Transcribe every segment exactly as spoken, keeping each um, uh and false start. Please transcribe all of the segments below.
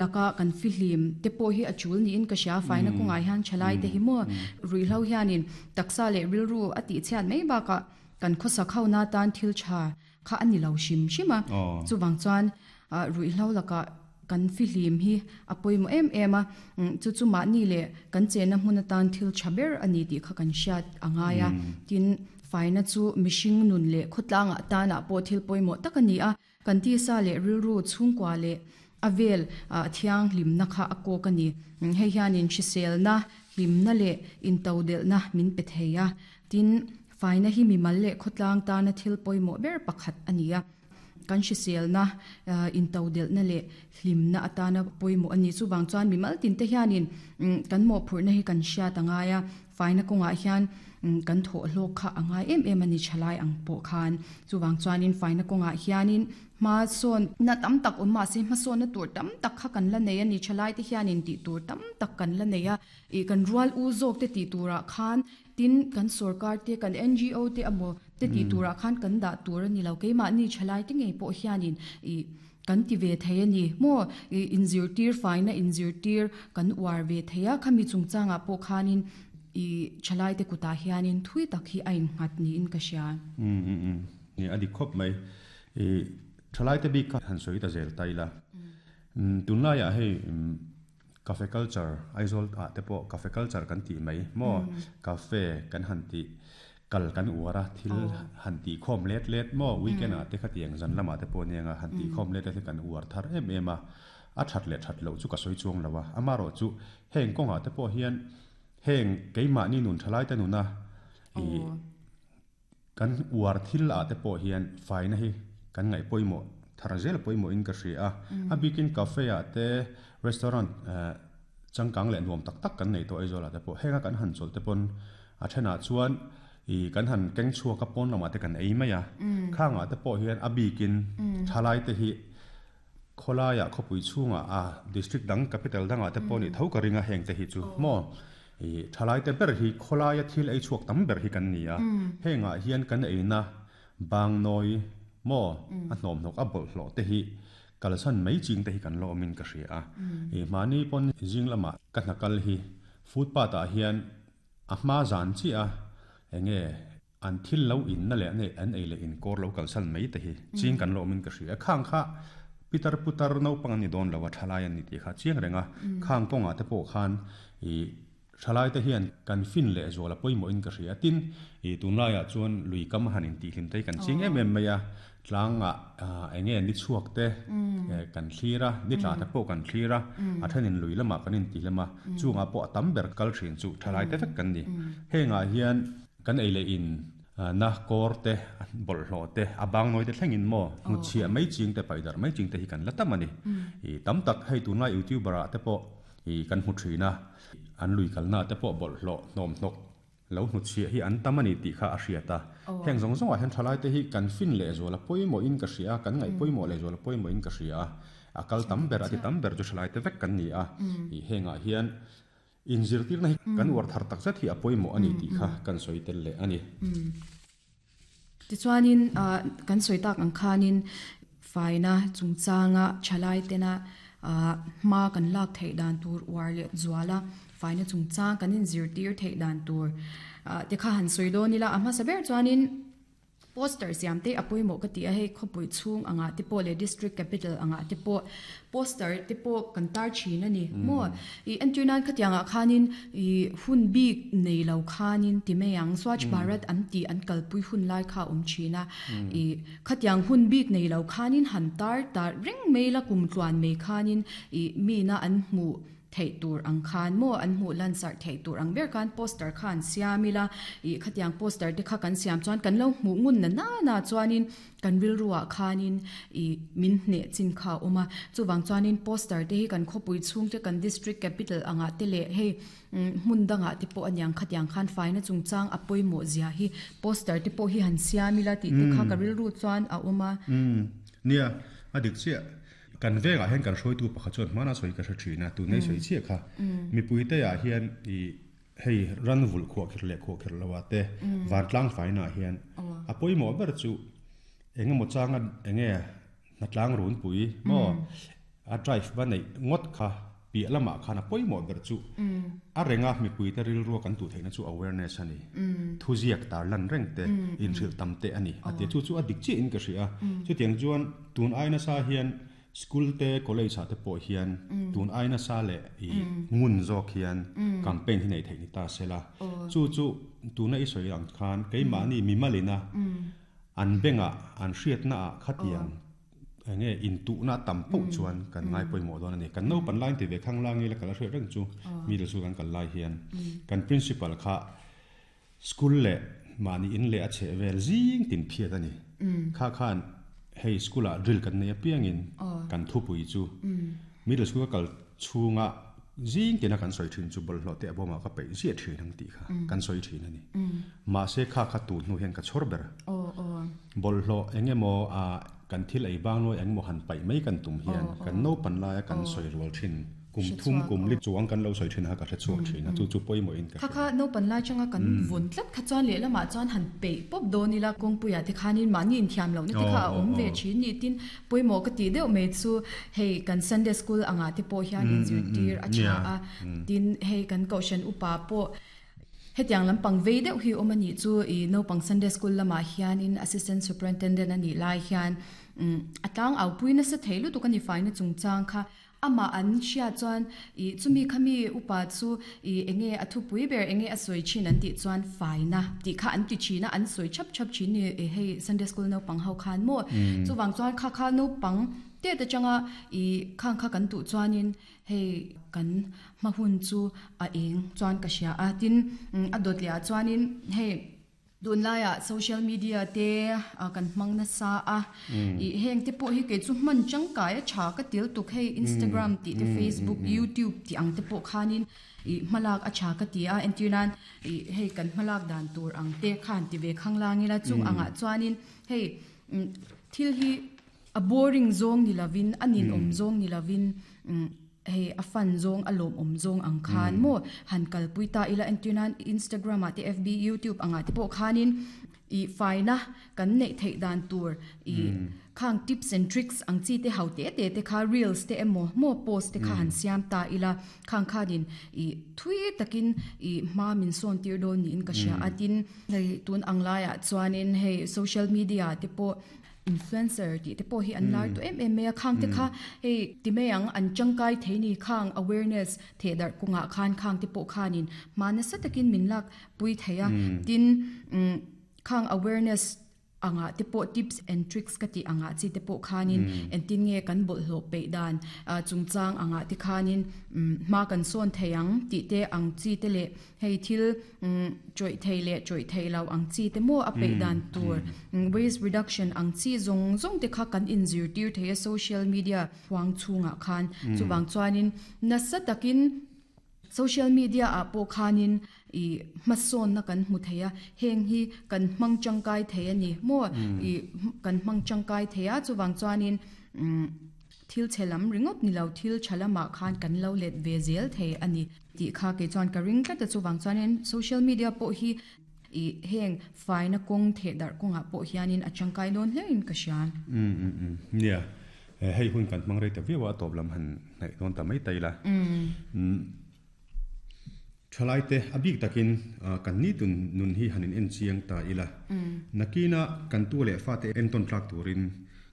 Laka kan fihlim te pawh hi a tul niin ka hria faina kawngah hian thalai te hi maw ruihhlo hianin taksa leh rilru a tih chhiat mai bakah kan khawsak ho na tan thil tha kha a ni lo hrim hrim a chuvang chuan ruihhlo lakah kan fihlim hi a pawimawh em em a chu chu mahni leh kan chenna hmun atan thil tha ber a ni tih kha kan hriat a ngai a tin faina chu mihring nun leh khawtlangah tanah pawh thil pawimawh tak a ni a kan tisa leh rilru chhungkua leh a vel thianghlimna kha a kawk a ni hei hianin hriselna hlimna leh intodelhna min pe thei a tin faina hi mimal leh khawtlang tana thil pawimawh ber pakhat a ni a kan hriselna intodelhna leh hlimna atana pawimawh a ni chuvang chuan mimal tin te hianin kan mawhphurhna hi kan hriat a ngai a faina kawngah hian kan thawh hlawk kha a ngai em em a ni thalai ang pawh khan chuvang chuanin faina kawngah hianin hma sawn na tam tak awm mahse hma sawn na tur tam tak kha kan la nei a ni thalai te hianin tih tur tam tak kan la nei a ih kan rual u zawk te tih turah khan tin kan sarkar te kan N G O te emaw te tih turah khan kan dah tur a ni lo keimahni thalai te ngei pawh hianin ih kan ti ve thei a ni maw ih inzirtir faina inzirtir kan uar ve thei a khami chungchangah pawh khanin i thalai te kutah hianin thui tak hi a innghat niin ka hria. Um um um ni a dik khawp mai i thalai te bik kha han sawi ta zel ta ila um tunlaiah hei um cafe culture Aizawl ah te pawh cafe culture kan tih mai maw cafe kan han tih kal kan uar a thil han tih khawm let let maw weekend ah te khatiang zan lamah te pawh nia han tih khawm let let hi kan uar thar em em a a that leh that loh chu ka sawi chuang lo a amaherawh chu heng kawngah te pawh hian heng keimahni nun thalai te nuna i kan uar thil ah te pawh hian faina hi kan ngaih pawimawh thar zel pawimawh in ka hria a a bikin cafe ah te restaurant changkang leh nuam tak tak kan nei tawh Aizawl ah te pawh henga kan han chawl te pawn a thenah chuan i kan han keng chhuak a pawn lamah te kan ei mai a khangah te pawh hian a bikin thalai te hi khawlaiah khawpui chhungah a district dang capital dangah te pawh ni tho ka ringa heng te hi chu maw i thalai te ber hi khawlaia thil ei chhuak tam ber hi kan ni a hengah hian kan eina bang nawi maw a hnawm hnawk a bawlhhlawh te hi kalsan mai ching te hi kan lo awmin ka hria a i mahni pawn zing lamah ka hna kal hi footpath ah hian a hma zan chi a enge an thil lo in na leh ane an ei leh in kawr lo kalsan mai te hi ching kan lo awmin ka hria khang kha Peter putar naupang an ni dawn lo a thalai an ni tih kha chiang renga khang kawngah te pawh khan i thalai te hian kan fin leh zual a pawimawh in ka hria tin i tunlaiah chuan lui kam han in tih hlim te hi kan ching em em mai a tlangah enge ni chhuak te kan thlir a ni tla te pawh kan thlir a a thenin lui lamah kan in tih hlem a chungah pawh a tam ber kal thin chu thalai te vek kan ni hengah hian kan ei leh in na kawr te bawlhhlawh te a bang nawi te thlengin maw hnutchhiah mai ching te paih darh mai ching te hi kan la tam a ni i tam tak hei tunlai youtuber ah te pawh i kan hmu thin a an lui kalna te pawh bawlhhlawh hnawm hnawk lo hnutchhiah hi an tam a ni tih kha a hriat a heng zawng zawngah hian thalai te hi kan fin leh zual a pawimawh in ka hria a kan ngaih pawimawh leh zual a pawimawh in ka hria a a kal tam ber a ti tam ber chu thalai te vek kan ni a i hengah hian inzirtirna hi kan uar thar tak zet hi a pawimawh a ni tih kha kan sawi tel leh a ni. Tichuanin kan sawi tak ang khanin faina chungchanga thalai tena hma kan lak theih dan tur uar leh zuala faina chungchang kan inzirtir theih dan tur te kha han sawi dawn ila a hmasa ber chuanin poster siam te a pawimawh ka ti a hei khawpui chhung angah te pawh leh district capital angah te pawh poster te pawh kan tar thin a ni maw i entir nan khatiangah khanin i hun bik nei lo khanin ti mai ang Swachh Bharat an tih an kalpui hun lai kha a awm thin a i khatiang hun bik nei lo khanin han tar tar reng mai la kum tluan mai khanin i mina an hmuh theih tur ang khan maw an hmuh lan sarh theih tur ang ber khan poster kha an siam ila ih khatiang poster te kha kan siam chuan kan lo hmuh ngun na na na chuanin kan rilruah khanin ih min hneh chin kha a awm a chuvang chuanin poster te hi kan khawpui chhung te kan district capital angah te leh hei hmun dangah te pawh aniang khatiang khan faina chungchang a pawimawh zia hi poster te pawh hi han siam ila tih te kha ka rilru chuan a awm a. Umm nia a dik chiah. Kan vengah hian kan hruaitu pakhat chuan hmana sawi ka hre thin a, tunei sawi chiah kha. Mipuite ah hian i hei ran vulh khuah kher leh khuah kher lo ah te vantlang faina ah hian a pawimawh ber chu eng emaw changa eng nge hnatlang runpui maw A drive va nei ngot kha pi lama khana poimo ber chu a renga mi pui te ril ru kan tu theina chu awareness ani thu ziak tar lan reng te in hril tam te ani ate chu chu a dik chi in ka hria chu tiang chuan tun aina sa hian school te college ha te pawh hian tun aina sa le i ngun zawk hian campaign hi nei thei ni ta sela chu chu tuna i soi ang khan keimah ni mi malina an benga an hriatna a khatiang nge in tu na tam po chuan kan ngai pawimawh dawn ani kan no pan line ti ve khang langi la kala hriat reng chu mi le chu kan kal lai hian kan principal kha school le mani in le a che vel zing tin phiat ani kha khan hei school a drill kan nei apiangin kan thu pui chu middle school kal chunga zing tina kan soi thin chu bol hlo te aboma ka pe zia thin ang ti kha kan soi thin ani ma se kha kha tu nu hian ka chhor ber bol hlo engemaw a kan thil ei bang loi engemaw han pai mai kan tum hian kan no pan lai kan soi rual thin kum thum kum li chuang kan lo soi thin ha ka hre chuak thin a chu chu pawimawh in ka kha kha no pan lai changa kan vun tlat kha chuan leh lamah chuan han pe pop dawn ila kawngpuia te khanin mahni inthiam lo na te kha a awm ve thin ni tin pawimawh ka ti deuh mai chu hei kan Sunday school anga te pawh hian inzirtir a tha a tin hei kan kohhran upa pawh hetiang lampang vei deuh hi awm ani chu i naupang Sunday school lamah hianin assistant superintendent ani lai hian a tlang au pui nasa thei lutuk ani faina chungchang kha ama an hria chuan i chumi khami upa chu i enge a thu pui ber enge a soi chin an ti chuan faina ti kha an ti china an soi chap chap chin ni e hei Sunday school naupang ho khan mo chuwang chuan kha kha naupang te te changa i khang kha kan tu chuanin hei kan mahun chu a eng chuan ka hria a tin a dot leh ah chuanin hei dun laia social media te kan hmang na sa a i heng te pawh hi ke chu hman changkai a tha ka til tuk hei Instagram ti te Facebook YouTube ti ang te pawh khanin i hmalak a tha ka ti a entirnan i hei kan hmalak dan tur ang te khan ti ve khang langila chung anga chuanin hei thil hi a boring zong ni lovin anin om zong ni lovin hei a fan zong a lom om zong ang khan mo han kalpui ta ila entirnan Instagram a te F B YouTube anga te pawh khanin i faina kan nei thei dan tur i khang tips and tricks ang chi te hau te te te kha reels te emo mo post te kha han siam ta ila khang khanin i thui takin i ma min son tir don ni in ka hria atin hei tun ang laia chuanin hei social media te pawh influencer ti te pawh hi an lar tu em em mai a khang te kha hei ti mai ang an changkai thei ni khang awareness the dar kunga khan khang te pawh khanin mana sa takin min lak pui theia tin khang awareness anga te pawh tips and tricks ka ti anga chi te pawh khanin entin nge kan bol hlo pe dan chungchang anga te khanin ma kan son theiang ti te ang chi te le hei thil choi thei le choi thei lo ang chi te mo a pe dan tur waste reduction ang chi zong zong te kha kan in zir tir thei social media huang chunga khan chuwang chuanin nasa takin social media a pawh khanin i hmasawn na kan hmu theia heng hi kan hmang tangkai thei ani mo i kan hmang tangkai theia chuwang chuanin thil chelam ringot ni lo thil chalama khan kan lo let ve zel thei ani ti kha ke chuan ka ring tlat chuwang chuanin social media pawh hi i heng faina kawng the dar kawnga pawh hianin a tangkai dawn hle in ka hria um um um nia hei hun kan hmang rei ta viau a tawp lam han hnaih dawn ta mai tai la um thalai te a bik takin kan ni tun nun hi hanin en chiang ta ila nakina kan tu le fa te en ton tlak turin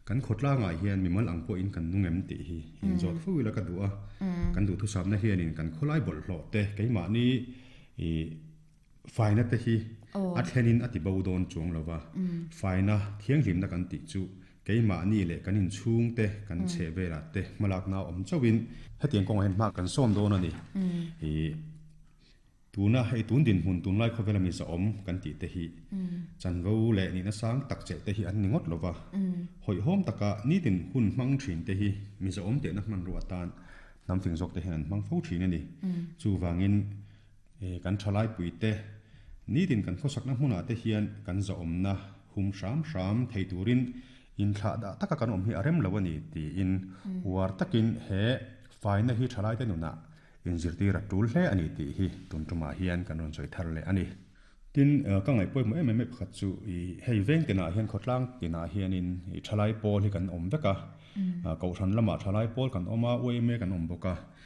kan khotla nga hian mimal ang po in kan nungem ti hi in zot fu ila ka duwa kan du thu sam na hian in kan kholai bol hlo te keima ni i faina te hi a thlenin ati bo don chuang lova faina thiang hlim na kan ti chu keima ni le kan in chung te kan che vela te malak na om chawin hetiang kong hen ma kan som don ani i tuna hei tun din hun tun lai khawela mi za om kan ti te hi chanvo le ni na sang tak che te hi an ni ngot lova hoi hom taka ni tin hun mang thin te hi mi za om te na man ru atan nam fing jok te hian mang fo thin ani chu wangin e kan thalai pui te ni tin kan khosak na hmuna te hian kan za om na hum sham sham thei turin in thla da taka kan om hi arem lo ani ti in war takin he faina hi thalai te nuna in zirtir a tul hle ani ti hi tun tuma hian kan ron choi thar le ani tin ka ngai poi mo em em pakhat chu i hei veng tina hian khotlang tina hianin i thalai pawl hi kan om veka Kohhran lamah thalai pawl kan awm a, Y M A kan awm bawk a.